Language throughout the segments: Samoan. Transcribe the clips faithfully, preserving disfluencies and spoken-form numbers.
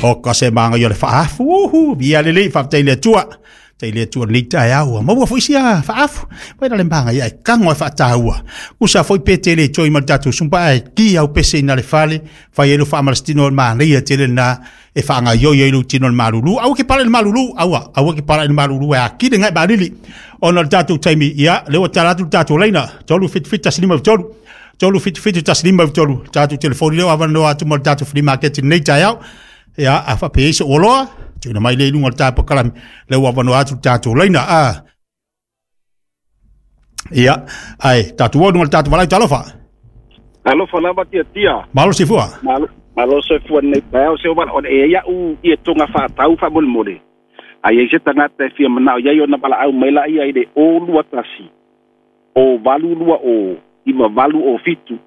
O ka se manga i o le faafu, uhu, via lelei faafetai i le Atua. Tai le Atua lenei taeao, ua maua foi sia faafu. Pai la le manga ia e kango e faataua. Usa foi pe tele toi ma le tatou sumpa ai ki au pese ina le fale, fai ai lo faamalositino o le manaia tele lena e faagaioi ai lou tino i le malulu. Aua ke pala i le malulu, aua, aua ke pala i le malulu e akile ngai malili. Ona o le tatou taimi, ia, lea ua tala atu le tatou laina, tolu fitu fitu tasi lima tolu. Tolu fitu fitu tasi lima tolu. Tatou telefoni lea ua avanoa atu mo le tatou flea market i lenei taeao. Ia, a faapea ai se oloa, tuuina mai lea i luga o le tapo kalami, lea ua avanoa atu le tatou laina. A. Ia, ai, tatou o i luga o le tatou valaau talofa. Alofa lava tiatia. Malo soifua. Malo, malo soifua nei taeao se o wala o e ia u i e tonga whaatau wha mole mole. Ai ei se tangata e fia manao iai ona wala au mai la ia i le o lua tasi. O valu lua o iwa valu o fitu.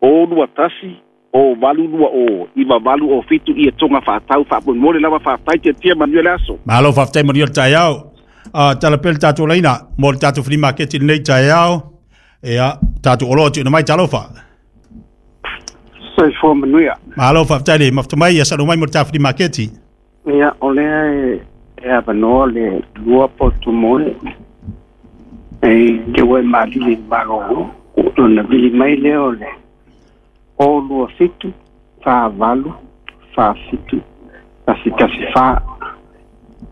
O lua tasi. O valu lua o iwa valu o fitu i e tonga whaatau wha mole mole lava whaatai tiatia manuia le aso. Malo faafetai manuia le taeao. Uh, tala pea le tatou laina mo le tatou flea market i lenei taeao. Ia, tatou oloa tuuina mai talofa. Soifua manuia. Malo faafetai le mafuta mai ia salo mai mo le tatou flea market. Ia, o lea e, e avanoa le lua potu moe. E te ue malili malo. Ona vili mai lea o le o lua fitu, fa valu, fa fitu, tasi tasi fa,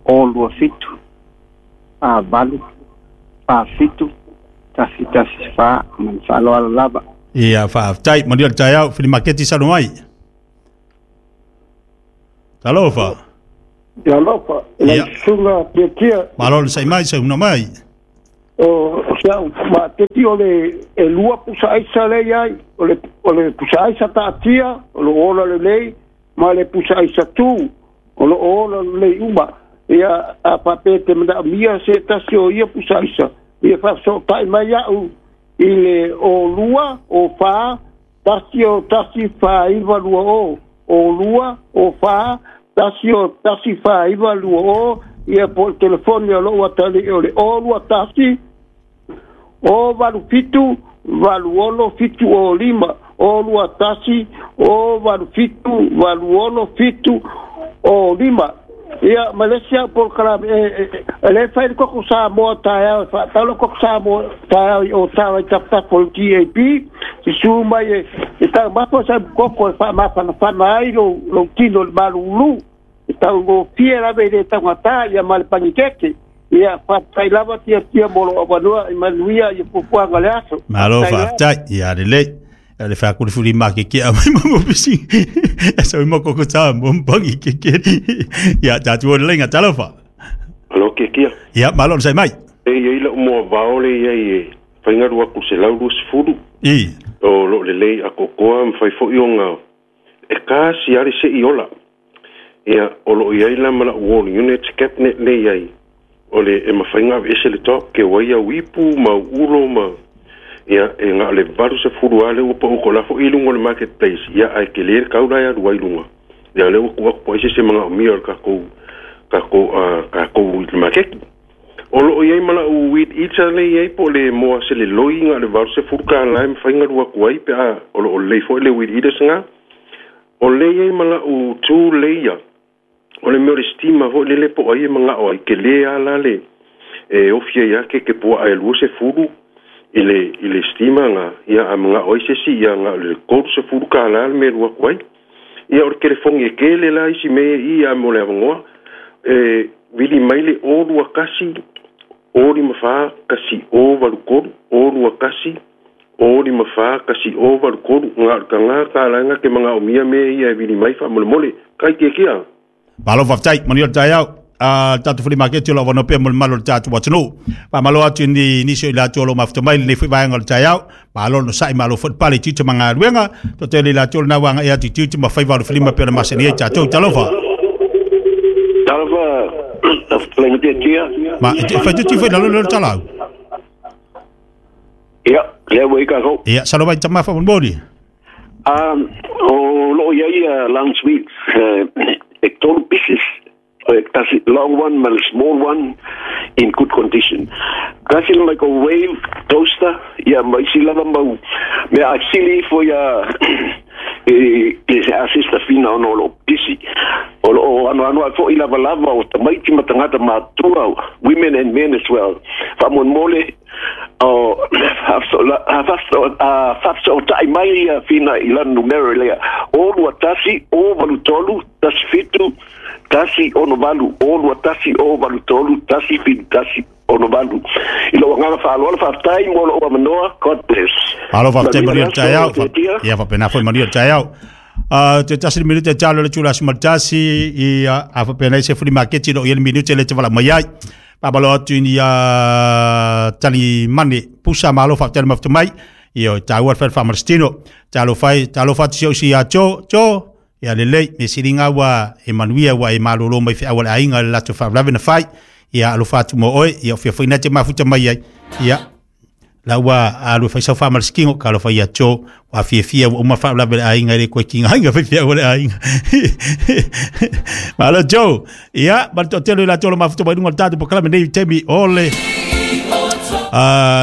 o lua fitu, fa valu, fa fitu, tasi tasi fa, man faaloalo lava. Ia, faafetai manuia le taeao flea market salo mai. Talofa. Ia alofa, lau Ia. susuga tiatia. Malo le sai mai, sauna mai. O o se au maateti o le e lua pusa aisa le iai, o le o le pusa aisa taatia, o lo ola lelei, ma le pusa aisa tu, o lo ola lelei uma. Ia a faapea te manaomia se tasi o ia pusa aisa. Ia faafesootai mai au i le o lua, o fa, tasi o tasi fa iwa lua o, o lua, o fa, tasi o tasi fa iwa lua o, ia po o le telefoni o lou atalii o le o lua tasi, o valu fitu, valu ono fitu o lima, o lua tasi, o valu fitu, valu ono fitu o lima. Ia, ma le isi au polokalame, e, e, e le fai le koko Samoa taeao, e faatau le koko Samoa taeao i o tawa i taputapu o le G A P, susu mai e, e taumafa sa koko e faamafanafana ai lou, lou tino i le malulu. E taugofie lava i le taugata ia ma le pagikeke. Ia, faafetai lava tiatia mo lou avanoa i manuia ia fuafuaga le aso. Malo Faafetai lava. faafetai. Ia lelei. Ia le faakulifuli ma ke ke a mai mo pisi. E sa mo koko ta mo mpangi ke ke. Ia tatou o le laina talofa. Alo ke kia. Ia malo le sai mai. E ia ila mo vaole ia i faingaru aku se laulu sefulu. I. O lo lelei a kokoa mwhai fo ionga e ka si ari se i ola. Ia o lo ia ila mala wall unit cabinet le iai. O le e mawhainga ese le top ke waia wipu ma ulo ma ia e ngā le valu se furu ale upa uko la fo ilunga o le marketplace. Ia ai ke le kaula ia rua ilunga. Ia le uku aku po ese se mga o mia o le kako kako uh, kako i le market. O lo ia mala u weed eater le iai po le moa se le loi ngā le valu se furu ka lai mawhainga rua kuai pe a o lo o le fo le weed eaters ngā. O le iai mala u tu le ia. O le meo le steamer fo le le po ai e mga o ai ke le ala le e ofia ia ke ke pua ai lua se furu i le, i le steamer ngā. Ia a mga o ai se si ia ngā le kolu se furu ka ala le me rua kuai. Ia o le telefongi e ke le la isi me i a mo le avangoa. E vili mai le o lua kasi o lima wha kasi o valu kolu o lua kasi o lima wha kasi o valu kolu ngā ka ngā ka ala ngā ke mga o mia me ia e vili mai wha mole mole. Kai ke kia. Malo faafetai manuia le taeao. Uh, tatou flea market o lo avanoa pea mo le malo o le tatou atunuu. Faamalo atu ni nisi o i latou o lo mafuta mai lenei foi vaega o le taeao. Malo no sa'i malo foi le pale i tiute ma galuega. Totele i latou lena uaga e atu i tiute ma faiva o le filima pe ona masani ai tatou. Talofa. Talofa, lenga tiatia. Ma, e te fai tuti foi lalo le talau. Ia, lea ua i kākou. Ia, salo mai tamafa monmoni. Um, o loo iai uh, lounge suite, uh, e tolu pieces. Tasi long one ma le small one in good condition. Tasi le microwave, toaster, ia ma isi lava mau mea asili ifo ia e, e se assista fina ona o loo pisi. O loo Faanoanoa ai foʻi lavalava o tamaiti ma tagata matutua, women and men as well. Faamolemole o faafesoʻotaʻi mai ia Fina i lana numera lea o lua tasi o valu tolu tasi fitu tasi ono valu o lua tasi o valu tolu tasi fitu tasi ono valu. I lou agaga faaaloalo, faafetai mo lou avanoa. God bless. Malo faafetai manuia le taeao. Ia faapena foi manuia le taeao. Uh, te tasi le minute talo le tula sumatasi i a faapena i se fuli maketi lo ia le minute le te vala mai ai. Pabalo atu ni a tali mane pusa malo faafetai le mafuta mai. Ia taua le fa Marstino. Talo fai talo fati si si a cho cho ia lelei me siringa wa e manuia wa e malolo mai fe awala ainga le lato fa lavena fai. Ia alofa atu mo oe ia fia foi na te mafuta mai ai. Ia la ua alu fai sau faamalasikigo ka alofa ia tso ua fiafia ua uma faalavelave le aiga i le koe kiga aiga faifeau le aiga. Malo Joe. Ia ma le toatele i latou o lo mafuta mai luga o le tatou pokalame nei taimi o le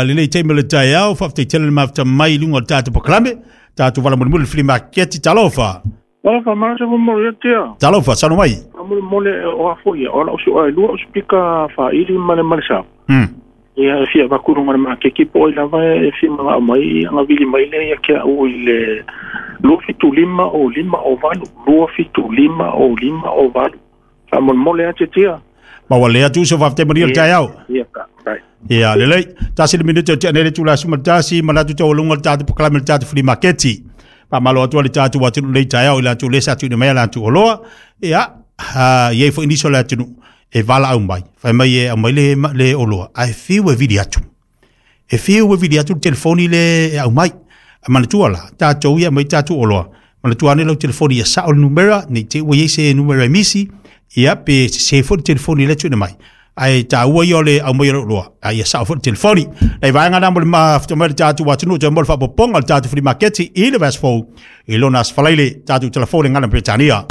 lelei taimi o le taeao faafetai tele le mafuta mai luga o le tatou pokalame tatou vala mulimuli le filimaketi talofa. Talofa malo se mo ia tia. Talofa sano mai. Mulimuli o afo ia o la usu ai lua usipika faili ma le malesa. Hmm. Ia fia vakulunga le makeki po i lava e fia manga mai anga vili mai le ia kia u i le lua fitu lima o lima o valu lua fitu lima o lima o valu. Faamolemole a tia. Ma ua lea tu so faafetai manuia le taeao. Ia ka. Ia lelei tasi le minute o tea nei le tula sumatasi manatu taualuga le tatou pokalame le tatou fuli maketi. Faamalo atu le tatou atunuu nei taeao i latou lesa atu mai latou oloa. Ia iai foi nisi o le atunuu e valaau mai fai mai e aumai le le oloa ae fiu e vili atu. E fiu e vili atu le telefoni le e aumai. A manatua la tatou ia mai tatou oloa. Manatua ane lau telefoni ia sao le numera nei te ua iai se numera e misi ia pe se foi le telefoni le tuuina mai. Ae taua ia o le aumai o le oloa a ia sao foi le telefoni. Nei vaega na mo le mafuta mai le tatou atunuu toe mo le faapopoga o le tatou fuli maketi i le Vasfou i lona asofalaile tatou telefoni gana Peretania.